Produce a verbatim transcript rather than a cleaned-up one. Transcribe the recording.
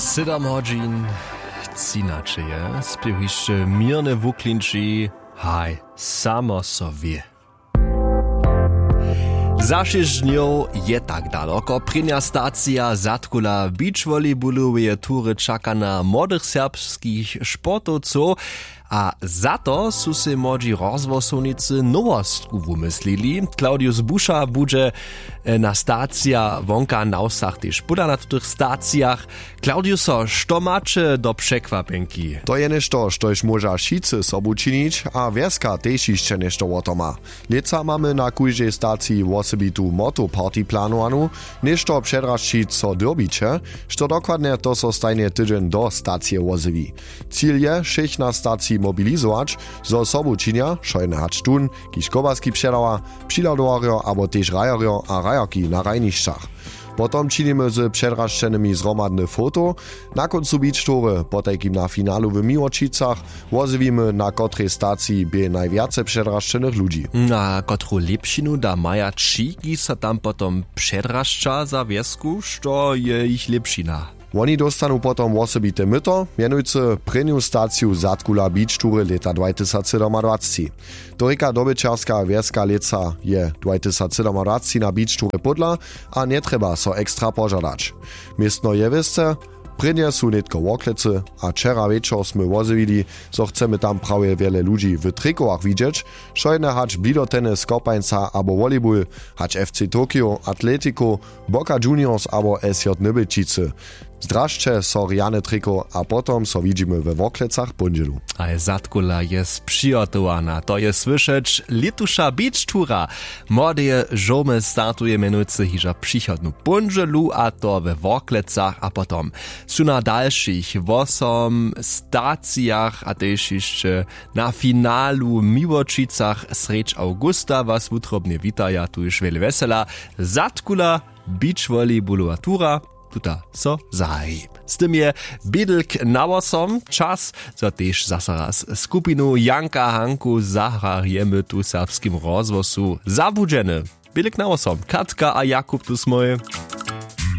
Sydom hodźin. Třinaće je spěw hišće měrne wuklinči. Haj, samo so wě. Za šěsć dnjow je tak daloko prěnja stacija zadkula beachvolleyboloweje tury čaka na młodych serbskich sportowcow. A za to su sej młodźi rozhłosownicy nowostku wumyslili. Claudius Buša budźe na stacija wonka na wsach tež póda na tutych stacijach. Claudiuso, što maće do překwapjenki? To je něšto, štož móža wšitcy sobu činić, a wjeska tež hišće něšto wo to ma. Lětsa mamy na kóždej staciji wosebitu motoparty planowanu. Něšto předrašćić so dyrbiće, što dokładnje, to so stajnje tydźeń do stacije wozjewi. Cil je wšěch na staciji mobilizować, zo sobu činja wšojene hač tón, kiž kobaski předawa, přihladowarjo abo tež hrajerjo a hrajerki na hrajnišćach. Potom činimy z předrašćenymi zhromadne foto. Na kóncu beach toury, potajkim na finalu w Miłočicach, wozjewimy, na kotrej staciji bě najwjace předrašćenych ludźi. Na kotru lěpšinu da maja tři, kiž so tam potom předrašća za wjesku? Što je jich lěpšina? Woni dóstanu potom wosebite myto, mjenujcy prěnju staciju zadkula beach toury lěta dwajtysacsydomadwacci. To rěka dobyćerska wjeska lětsa je dwajtysacsydomadwacci na beach toury pódla, a njetrjeba so ekstra požadać. Městno je wěsce. Prěnje su nětko worklecy, a wčera wječor smy wozjewili, zo chcemy tam prawje wjele ludźi w trikowach widźeć, wšojene hač blidoteny z kopańca abo volleyball, hač fc tokio atletikow, boca juniors abo sj nybelčicy. Zdražće so rjany trikow a potom so widźimy we worklecach póndźelu. A je zadkula je přihotowana, to je słyšeć. Lětuša beach toura młodeje žołmy startuje mjenujcy hižo přichodnu póndźelu, a to we worklecach. A potom su na dalšich wosom stacijach a tež hišće na finalu w Miłočicach srjedź awgusta. Was wutrobnje witaja tuž wjele wjesela. Zadkula beach volleybolowa tura tuta so zahaji. Z tym je bědlk na wosom čas, zo tež zaso raz skupinu Janka Hanku zahrajemy tu w serbskim rozhłosu zabudźeny. Bědlk na wosom, Katka a Jakub tu smój.